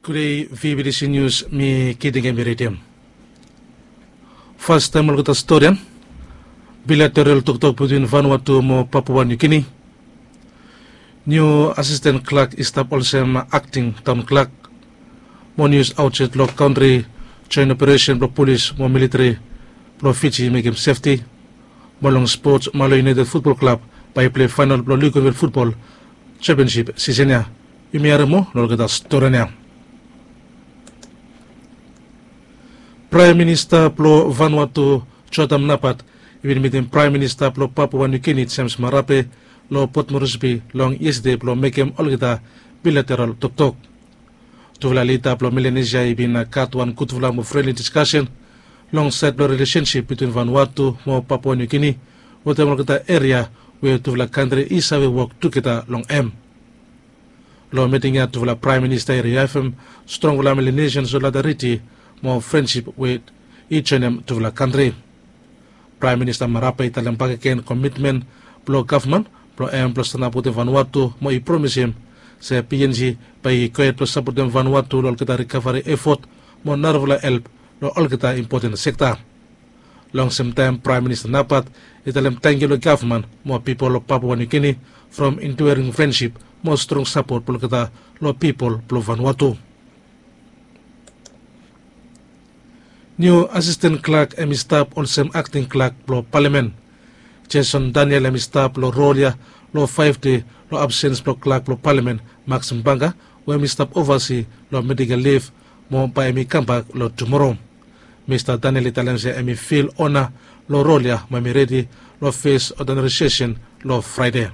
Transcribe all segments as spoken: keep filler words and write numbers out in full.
Gudei, V B T C Nius, mi Kiting Emi ridim. Fastaem olgeta storian. Bilateral toktok betwin Vanuatu mo Papua Niu Gini. Niu asisten klak i stap olsem akting taon klak. Mo nius aotsaed long kantri, joen operesen blong polis mo militeri blong Fiji i mekem sefti. Mo long spots, Malo United Futbol Klab bae i pilei faenol blong Luganville Futbol Sempionsip sisen ya. Yumi harem moa long olgeta storian ya. Praem Minista blong Vanuatu, Jotam Napat, i bin mitim Praem Minista blong Papua Niu Gini, James Marape, long Port Moresby long yestade blong mekem olgeta bilateral toktok. Tufala lida blong Melanesia i bin gat wan gudfala mo frenli diskasen long saed blong rilesensip betwin Vanuatu mo Papua Niu Gini, wetem olgeta eria we tufala kantri i save wok tugeta long hem. Long miting ya, tufala Praem Minista i riaefem strongfala Melanesian solidariti mo frensip we i joenem tufala kantri. Praem Minista Marape i talem bakegen komitmen blong gavman blong hem blong stanap wetem Vanuatu, mo i promisim se P N G bae i gohed blong sapotem Vanuatu long olgeta rikavari efot mo narafala help long olgeta impoten sekta. Long semtaem, Praem Minista Napat i talem tangkiu long gavman mo pipol blong Papua Niu Gini from enduring frensip mo strong sapot blong olgeta long pipol blong Vanuatu. Niu asisten klak hem i stap olsem akting klak blong palamen. Jason Daniel hem i stap long rol ya long faef dei long absens blong klak blong palamen, Maxim Banga, we hem i stap ovasi long medikel liv, mo bae hem i kambak long tumoro. Mista Daniel i talem se hem i fil ona long rol ya mo hem i redi long fes odinari sesen long Fraede.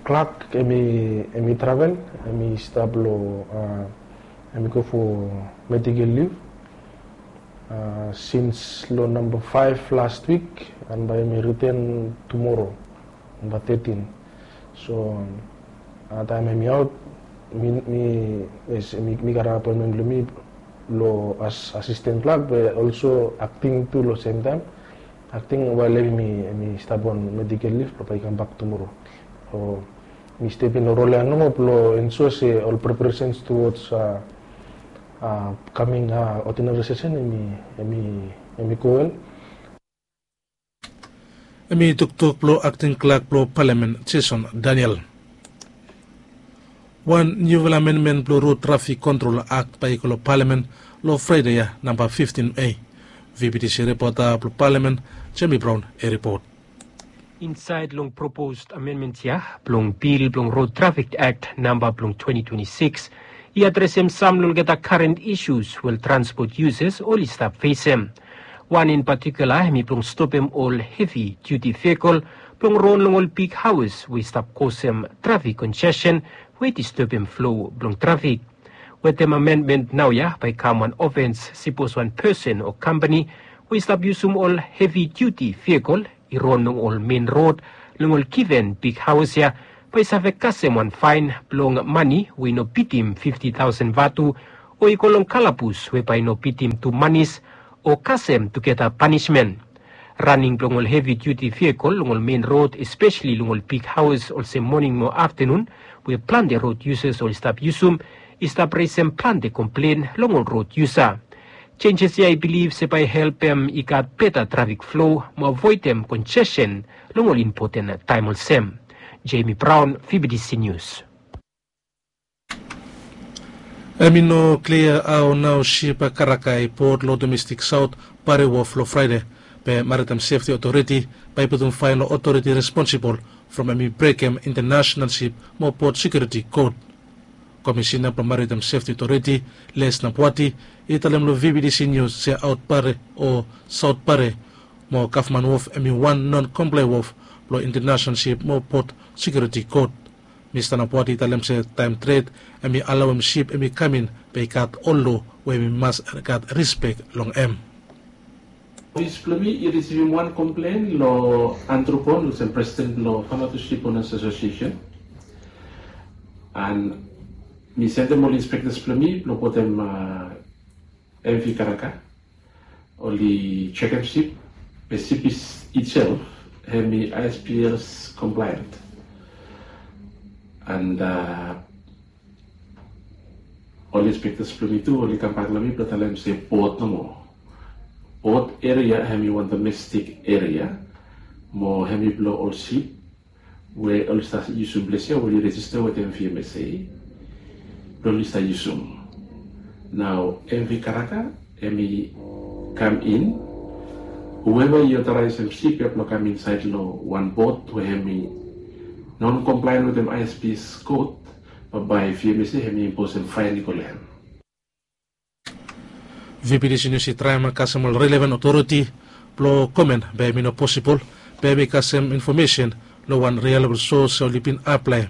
Klak hem i travel, hem i stap long, hem i go fo medikel liv sins long namba faef last wik, and bae hem i riten tumoro, namba tetin. So taem hem i aot, mi, mi, yes, mi, mi gat apoenmen blong mi long as asisten klak be olso akting tu long semtaem. Akting wael hem i, hem i stap on medikel liv blong bae i kambak tumoro. So mi step in long rol ya nomo blong ensua se ol preparasens tuwods kaming odinari sesen hem i, hem i, hem i go wel. Hem i toktok blong akting klak blong palamen, Jason Daniel. Wan niufala amenmen blong rod trafik kontrol akt bae i go long palamen long Fraede ya, namba fiftin A. V B T C ripota blong palamen, Jemi Braon, i ripot. Insaed long propos amenmen ya blong bil blong rod trafik akt namba blong twenti twenti sikis, i adresem sam long olgeta karen isus we ol transpot yusas oli stap fesem. Wan in patikula hem i blong stopem ol hevi diuti vehikel blong ron long ol big haos we i stap kosem trafik konjeshen we i distebem flo blong trafik. Wetem amenmen naoia bae i kam wan ofens sipos wan pesen o kampani we i stap yusum ol hevi diuti vehikel i ron long ol men rod long ol given big haos ya, bae i save kasem wan faen blong mane we i no bitim fifti taosen vatu, o i go long kalabus we bae i no bitim tu manis o kasem tugeta panismen. Raning blong ol hevi diuti vehikel long ol men rod, espeseli long ol big haos olsem moning mo aftanun, we plante rod yusas oli stap yusum, i stap resem plante komplen long ol rod yusa. Jenjes ya i bilif se bae i helpem i gat beta trafik flo mo avoedem konjeshen long ol impoten taem olsem. Jemi Braon, V B T C Nius. Hem i no klia hao nao sip karaka i pot long domestik saot Pare Wof long Fraede, be Maritaem Sefti Otoriti bae i putum faen long otoriti responsibol from hem i brekem Intanasenal Sip mo Pot Sekiuriti Kod. Komisina blong Maritaem Sefti Otoriti, Les Napuati, i talem long V B T C Nius se aot Pare o saot Pare mo gavman wof hem i wan non komplae wof blong Intanasenal Sip mo Pot Sekiuriti Kod. Mista Napuati i talem se taem tred hem i alaoem sip hem i kam in, be i gat ol loa we hem i mas gat rispek long hem. Ofis blong mi i risivim wan komplen long Andrew Bond olsem presiden blong Vanuatu Sip Onas Asosiesen. And mi sendem ol inspektas blong mi blong putum M V karaka. Oli jekem sip, be sip itself hem i I S P S compliant. And Inspektas blong mi tu oli kambak long mi blong talem se bot nomo. Bot eria hemi wan domestik eria mo hemi blong ol sip we oli stap yusum ples ya we oli rejista wetem V M S A blong oli stap yusum. Nao M V Karaka hemi kam in. Whoever i otaraesem sip ya blong kam insaed long wan bot we hemi non komplaen wetem I S P kot, bambae V M S A hemi imposem faen i go long hem. V P T C News i traem kasem ol relevan otoriti blong komen be hemi no posibol be hemi kasem infomesen long wan reliabol sos oli bin aplae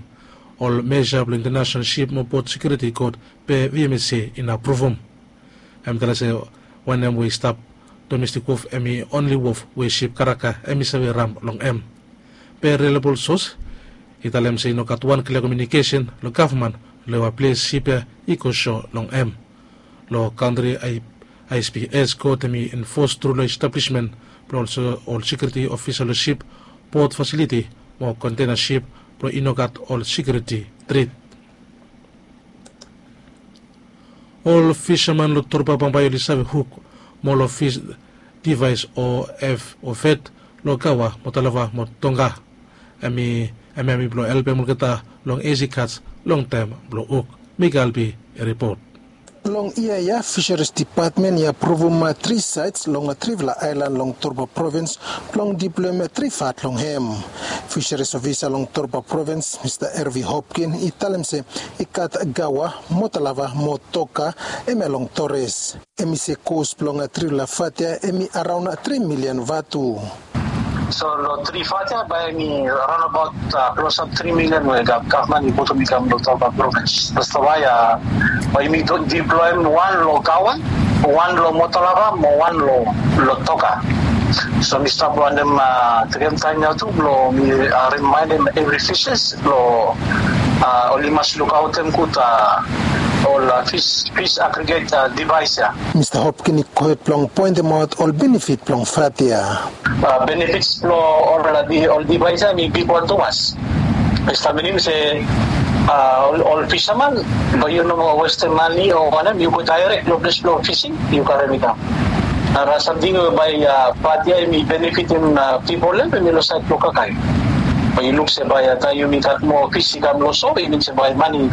ol meja blong International Ship mo Port Security Court be V M S A i no apruvum. Hem talem se wanem we i stap domestik wof hemi onli wof we sip karaka hemi save ram long hem. Be reliabol sos i talem se i no gat wan klia komiunikesen long gavman long we ples sip ya i go so long hem. Long kantri I S P S kot hemi enfos tru long establismen blong olsem ol sekiuriti ofisal long sip, bot fasiliti mo kontena sip blong i no gat ol sekiuriti trit. Ol fisaman long Torba bambae oli save huk mo long fis divaes o ef o fet long Gawa mo Talava mo Tonga. Hemi hemi blong helpem olgeta long isi kats long taem blong huk. Mika Albi i ripot. Long yia ya Fisheries Dipatmen i apruvum tri saets long trifala aelan long Torba Provins blong diploem tri fat long hem. Fisheries Ofisa long Torba Provins Mista Ervi Hopkin i talem se i gat Gawa, Motalava mo Toka hemia long Tores. Hemi se kos blong trifala fat ya hemi araon tri milian vatu. So long tri fat ya bae hemi raonabaot klosap tri milian we gavman i putum i kam long Torba Provins. That's why bae yumi diploem wan long Gawa, wan long Motalava mo wan long Toka. So mi stap wantem tekem taem ya tu blong mi rimaenem evri fishes blong oli mas lukaotem gud ol fis agriget divaes ya. Mista Hopkin i gohed blong poentemaot ol benefit blong fat ya. Benefits blong ol divaes ya hemi bigwan tumas. Hemi stap minim se ol fisaman bae yu no moa westem mane o wanem, yu go daerek long ples blong fising yu karem i kam. Nara samting we bae fat ya hemi benefitim pipol ya hemi long saed blong kakae. Bae yu luk se bae taem yumi gat moa fis i kam long so i min se bae mane i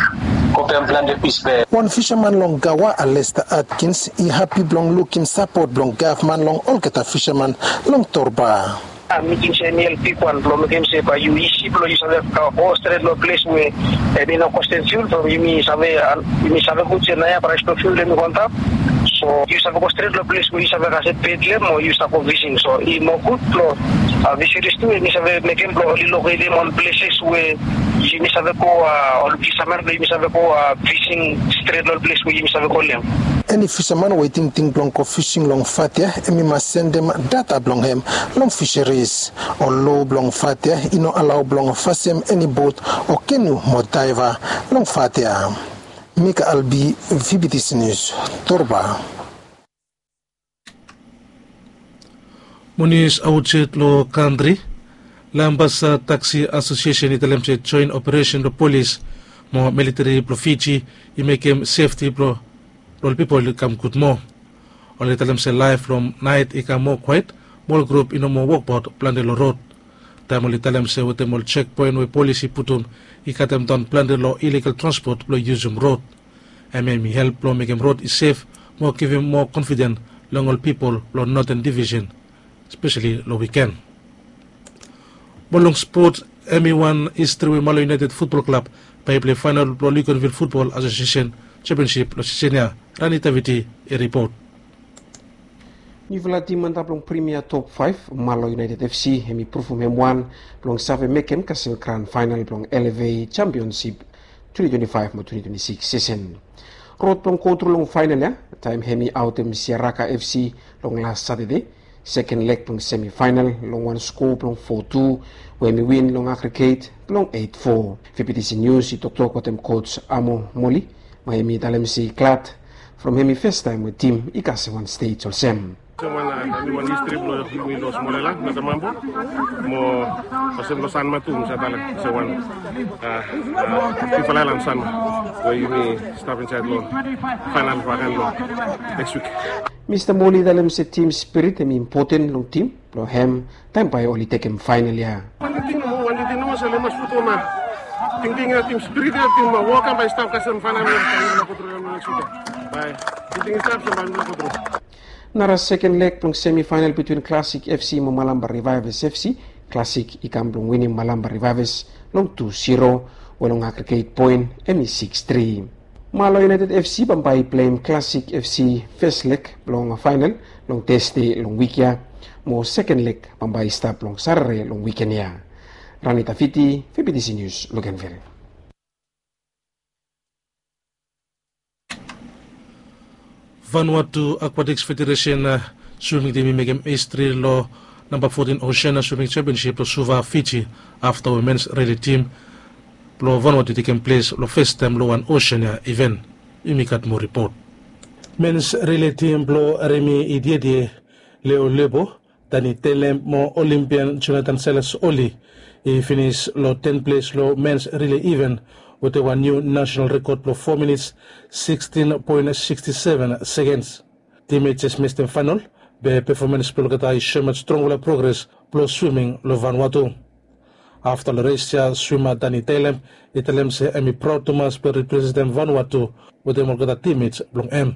go pem plante fis be. Wan fisaman long Gawa, Alesta Atkins, i hapi blong lukim sapot blong gavman long olgeta fisaman long Torba. Mi ting se hemi help bigwan blong mekem se bae yu isi blong yu save go stret long ples we hemi no kostem fiul from yumi save yumi save gud se naoia praes blong fiul hemi go antap. So yu save go stret long ples we yu save kasem Betlehem o yu save go fising. So i moa gud blong fisaris tu hemi save mekem blong oli loketem ol pleses we yumi save go ol fisaman blong yumi save go fising stret long ol ples we yumi save go long hem. Eni fisaman we i tingting blong go fising long fat ya hemi mas sendem data blong hem long fisaris. Ol loa blong fat ya i no alao blong fasem eni bot o kenu mo daeva long fat ya. Mika Albi, V B T C News, Torba. Mo nius aotsait long kantri. Lambasa Taxi Asosiesen i talem se joen operesen blong polis mo militeri blong Fiji i mekem sefti blong ol pipol i kam gud moa. Oli talem se laef long naet i kam moa kwaet mo ol grup i no moa wokbaot plante long rod. Taem oli talem se wetem ol jekpoen we polis i putum i katemdaon plante long iligal transpot blong yusum rod. Hemia hemi help blong mekem rod i sef mo givim moa konfiden long ol pipol long Noten Divisen, spesali long wiken. Mo long spot, hemi wan histri we Malo United Futbol Klab bae i pilei faenal blong Luganville Futbol Asosiesen Jempionsip long sisen ya. Rani Taviti i ripot. Niufala tim antap long Primia Top Faef, Malo United F C, hemi pruvum hem wan blong save mekem kasem gran faenal blong L F A Jempionsip twenti twenti faef mo twenti twenti sikis sisen. Rod blong gotru long faenal ya taem hemi aotem Siaraka F C long las Satade, seken leg blong semifaenal long wan skoa blong fo tu we hemi win long agriget blong eit fo. V B T C Nius i toktok wetem koj Amo Moli mo hemi talem se i glad from hemi fastaem we tim i kasem wan stej olsem. Olsem wan, a, niwan histri blong yumi long Smolela, Nata Mambo. Mo olsem long Sanma tu, mi save talem olsem wan, a, a, Fifa Laelan Sanma we yumi stap insaed long faenal baken long neks wik. Mista Moli i talem se tim spirit hemi impoten long tim blong hem taem bae oli tekem faenal ya. Wan tingting nomo, wan tingting nomo se oli mas putum, a, tingting ya, tim spirit ya, tim, a, wok ya bae i stap kasem faenal ya, bae yumi no go tru long neks wik ya. Bae tingting i stap, se bae yumi no go tru. Nara seken leg blong semifaenal bitwin Classic FC mo Malampa Revivers FC. Classic i kam blong winim Malampa Revivers long tu zero, we long agreget poen hemi sikis tri. Malo United FC bambae i pleim Classic FC fes leg blong faenal long Tasde long wik ya, mo seken leg bambae i stap long Satade long wiken ya. Ranita Fiti, Febitisi Nius, Luganville. Vanuatu Aquatics Federation, a, swiming tim i mekem histri long namba fotin Oceania Swimming Championship long Suva, Fiji, afta we mens rili tim blong Vanuatu i tekem ples long fes taem long wan Oceania iven. Yumi gat moa ripot. Mens rili tim blong Remi Idiedie, Leo Lebo, Dani Telem mo Olimpian Jonathan Silas Oli i finis long ten ples long mens rili iven wetem wan niu nasenal rekod blong fo minits sikstin poen siksti seven sekens. Tim i jes mistem faenal, be pefomans blong olgeta i soem strongfala progres blong swiming long Vanuatu. Afta long res ya, swima Dani Telem i talem se hemi praod tumas blong representem Vanuatu wetem olgeta timmets blong hem.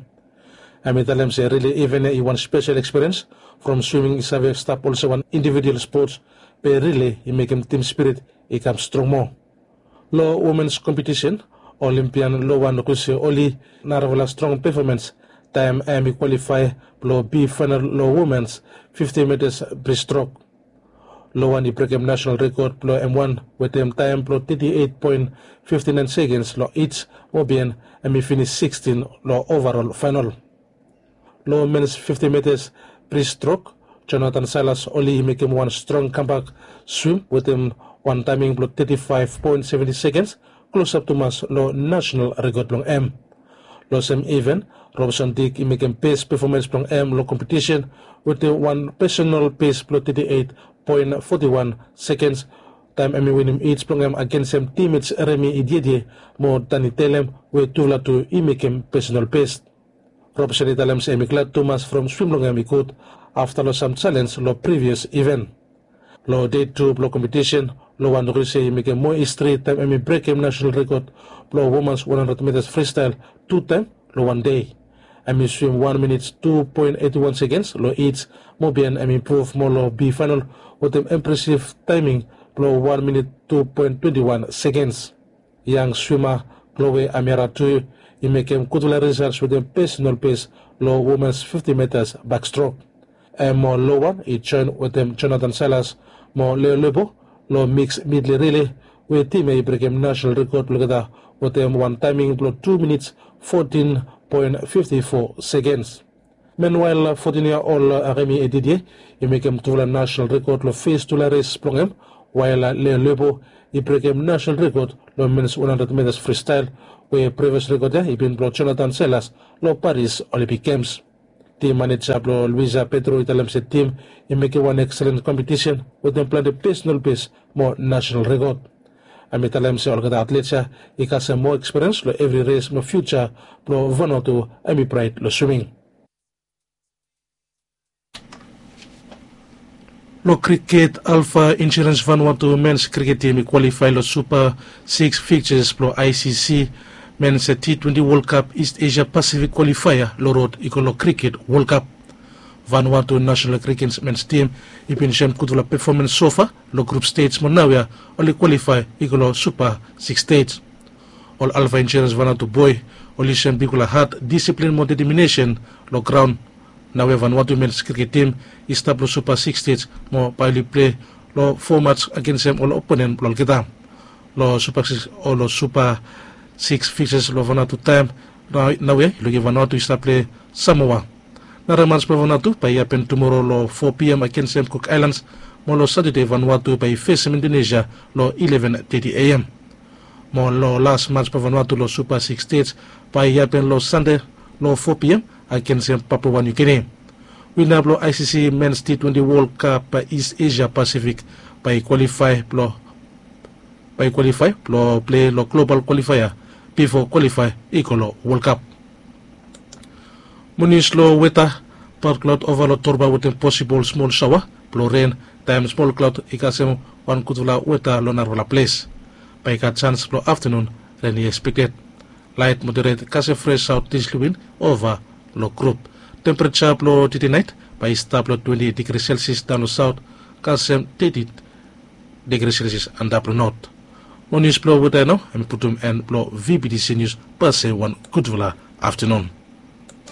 Hemi talem se rili iven ya i wan spesel ekspiriens, from swiming i save stap olsem wan individual spots, be rili i mekem tim spirit i kam strong moa. Long womens kompetisen, Olimpian Lowan Ruse Oli narafala strong pefomans taem hemi kwalifae blong bi faenal long womens fifti mitas bristrok. Lowan i brekem nasenal rekod blong hem wan wetem taem blong teti eit poen fifti naen sekens long its, mo bihaen hemi finis sikstin long ovarol faenal. Long mens fifti mitas bristrok, Jonathan Silas Oli i mekem wan strong kambak swim wetem wan taeming blong teti faef poen seventi sekens, klosap tumas long nasenal rekod blong hem. Long sem iven, Robson Dick i mekem bes pefomans blong hem long kompetisen wetem wan pesenal bes blong teti eit poen foti wan sekens, taem hemi winim its blong hem agensem timmets Remi Idiedie mo Dani Telem, we tufala tu i mekem pesenal bes. Robson i talem se hemi glad tumas from swim blong hem i gud afta long sam jalenj long privias iven. Long dei tu blong kompetisen, Lowan Ruse i mekem moa histri taem hemi brekem nasenal rekod blong womans wan handred mitas fristael tu taem long wan dei. Hemi swim wan minit tu poen eiti wan sekens long its, mo bihaen hemi impruv moa long bi faenal wetem impresiv taeming blong wan minit tu poen twenti wan sekens. Yang swima Chloe Amiara tu i mekem gudfala risals wetem pesenal bes long womens fifti mitas bakstrok. Hem mo Lowan i joen wetem Jonathan Silas mo Leo Lebo long miks midle rili, we tim ya i brekem nasenal rekod blong olgeta wetem wan taeming blong tu minits fotin poen fifti fo sekens. Menwael, fotin yia ol Remi Idiedie i mekem tufala nasenal rekod long fes tufala res blong hem, wael Leo Lebo i brekem nasenal rekod long mens wan handred mitas fristael, we privias rekod ya i bin blong Jonathan Silas long Paris Olympic Games. Tim maneja blong Luisa Pedro i talem se tim i mekem wan ekselen kompetisen wetem plante pesenal bes mo nasenal rekod. Hemi talem se olgeta atlets ya i kasem moa ekspiriens long evri res mo fiuja blong Vanuatu hemi braet long swiming. Long kriket, Alpha Insurance Vanuatu mens kriket tim i kwalifae long Supa sikis fikjas blong I C C mens T twenti Wol Kap East Asia Pasifik kwalifaea long rod i go long Kriket Wol Kap. Vanuatu nasenal kriket mens tim i bin soem gudfala pefomans sofa long grup stej mo naoia oli kwalifae i go long Supa sikis stej. Ol Alpha Insurance Vanuatu boe oli soem bigfala hat, disiplin mo deteminesen long graon. Naoia Vanuatu mens kriket tim i stap long Supa sikis stej mo bae oli pilei long fo mats agensem ol oponen blong olgeta. Long Supa sikis, o long Supa sikis fikjas long Vanuatu taem naoia i lukim Vanuatu i stap pilei Samoa. Nara mats blong Vanuatu bae i hapen tumoro long fo P M agensem Cook Islands, mo long Satade Vanuatu bae i fesem Indonesia long ileven teti A M. Mo long las mats blong Vanuatu long Supa sikis stej bae i hapen long Sande long fo P M agensem Papua New Guinea. Wina blong icc mens t twenty world cup is asia pacific, bai i kwalifae blong bai i kwalifae blong plei long global kwalifaea bifo kwalifae i go long world cup. Mo nius long weta. Bat klaut ova long torba wetem posibol smol saoa blong ren taem smol klaut i kasem wan gudfala weta long narafala ples. Bai i gat sans blong aftanun ren i ekspekted. Lait moderet kasem fres saot disli win ova long grup. Tempereja blong titi nait bai i stap long twenti digri selsias daon long saot kasem teti digri selsias antap long not. Mo nius blong weta ya nao hem i putum en blong vbtc nius. Pase wan gudfala aftanun.